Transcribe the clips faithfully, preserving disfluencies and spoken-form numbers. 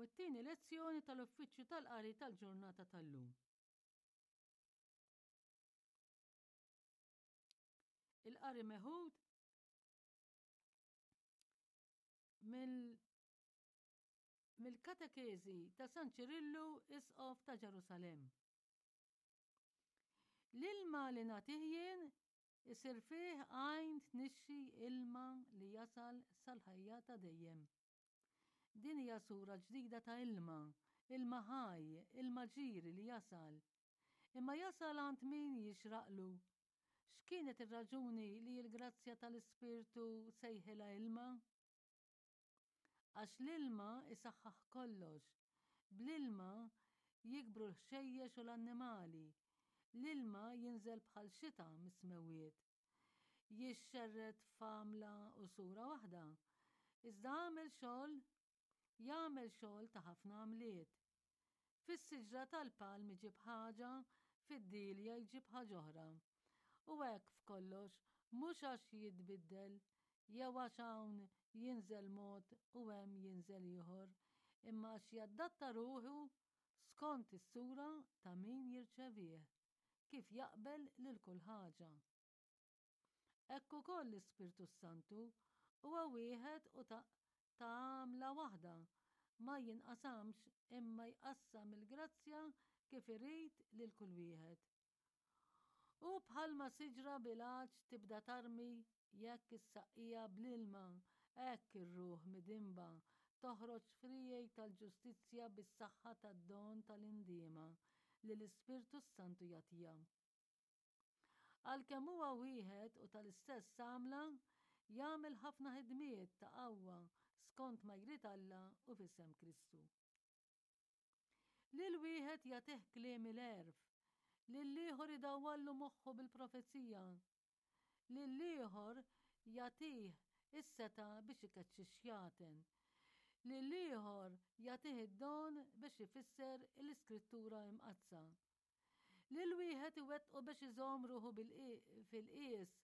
Nisimgħu t-tieni lezzjoni tal-Uffiċċju tal-Qari tal-ġurnata tal-lum. Il-qari meħud mill-Katekeżi ta' San Ċirillu, Isqof ta' Ġerusalemm. L-ilma li nagħtih jien isir fih għajn tnixxi ilma li jasal sal-ħajja ta' dejjem. Din hija sura ġdida ta' ilma, ilma ħaj, ilma ġiri li jasal. Imma jasal għand min jixraqlu. X'kienet ir-raġuni li l-grazzja tal-Ispirtu sejħilha ilma? Għax l-ilma isaħħaħ kollox. Bl-ilma jikbru l-ħxejjex u l-annimali. L-ilma jinżel bħal xita mis-smewwiet. Jixxerred f'għamla u sura waħda. Iżda għamel xogħol jagħmel xogħol ta' ħafna għamliet. Fis-siġra tal-palm iġib ħaġa, fid-dielja jġib ħaġa oħra. U hekk f'kollox, mhux għax jitbiddel, jew għax hawn jinżel mod u hemm jinżel ieħor, imma għax jaddatta ruħu skont is-sura ta' min jirċevih, kif jaqbel lil kull ħaġa. Hekk ukoll l-Ispirtu s-Santu huwa wieħed u ta' ta' għamla waħda, ma jinqasamx imma jqassam il-grazzja kif irid lil kull wieħed. U bħalma siġra bil-għatx tibda tarmi jekk issaqqiha bl-ilma, hekk ir-ruħ midinba toħroġ friegħi tal-ġustizzja bis-saħħa tad-don tal-indiema li l-Ispirtu s-Santu jagħtiha. Għalkemm huwa wieħed u tal-istess għamla, jagħmel ħafna ħidmiet ta' qawwa skont ma jrid Alla u f'isem Kristu. Lil wieħed jagħtih kliem il-għerf, lil ieħor idawwallu moħħu bil-profezija, lil ieħor jagħtih is-setgħa biex ikeċċi x-xjaten, lil ieħor jagħtih id-don biex ifisser l-Iskrittura Imqaddsa. Lil wieħed iwettqu biex iżomm ruħu fil-qies,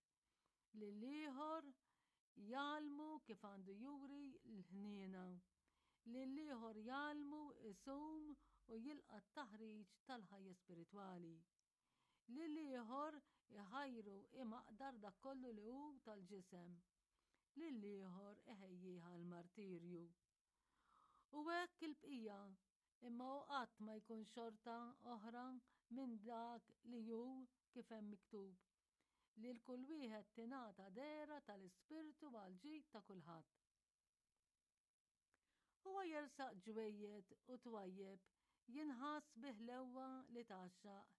lil ieħor jgħallmu kif għandu juri l-ħniena, lil ieħor jgħallmu isum u jilqa' t-taħriġ tal-ħajja spiritwali. Lil ieħor iħajru imaqdar dak kollu li hu tal-ġisem, lil ieħor iħejjih għall-martirju. U hekk il-bqija, imma hu qatt ma jkun xorta oħra minn dak li hu kif hemm miktub, lil kull wieħed tingħata dehra tal-Ispirtu għall-ġid ta' kulħadd. Huwa jersaq ġwejjed u twajjeb, jinħass bi ħlewwa li tgħaxxaq,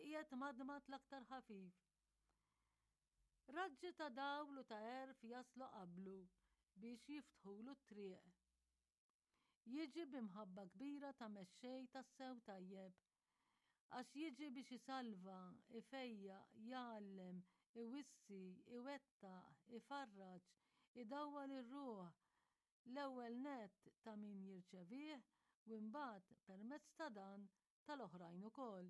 iqiegħed madmad l-aktar ħafif. Raġġi ta' dawl u ta' għerf jaslu qablu biex jiftħulu t-triq. Jiġi bi mħabba kbira ta' mexxej tassew tajjeb, għax jiġi biex isalva, ifejjaq, jgħallem, iwissi, iwettaq, ifarraġ, idawwal ir-ruħ, l-ewwel nett ta' min jirċevih u imbagħad permezz ta' dan tal-oħrajn ukoll.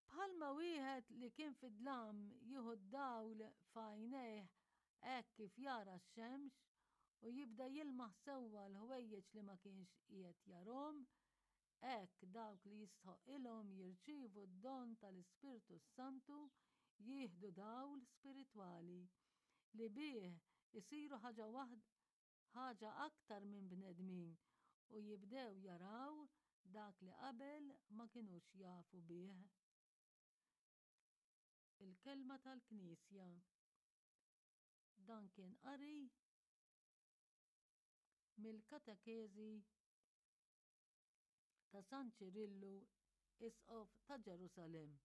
Bħalma wieħed li kien fid-dlam jieħu d-dawl f'għajnejh hekk kif jara x-xemx u jibda jilmaħ sewwa l-ħwejjeġ li ma kienx qiegħed jarhom, hekk dawk li jistħoqqilhom jirċievu d-don tal-Ispirtu s-Santu jieħdu dawl spiritwali li bih isiru ħaġa waħda ħaġa aktar minn bnedmin u jibdew jaraw dak li qabel ma kinux jafu bih. Il-kelma tal-Knisja. Dan kien qari mill-Katekeżi ta' San Ċirillu, Isqof ta' Ġerusalemm.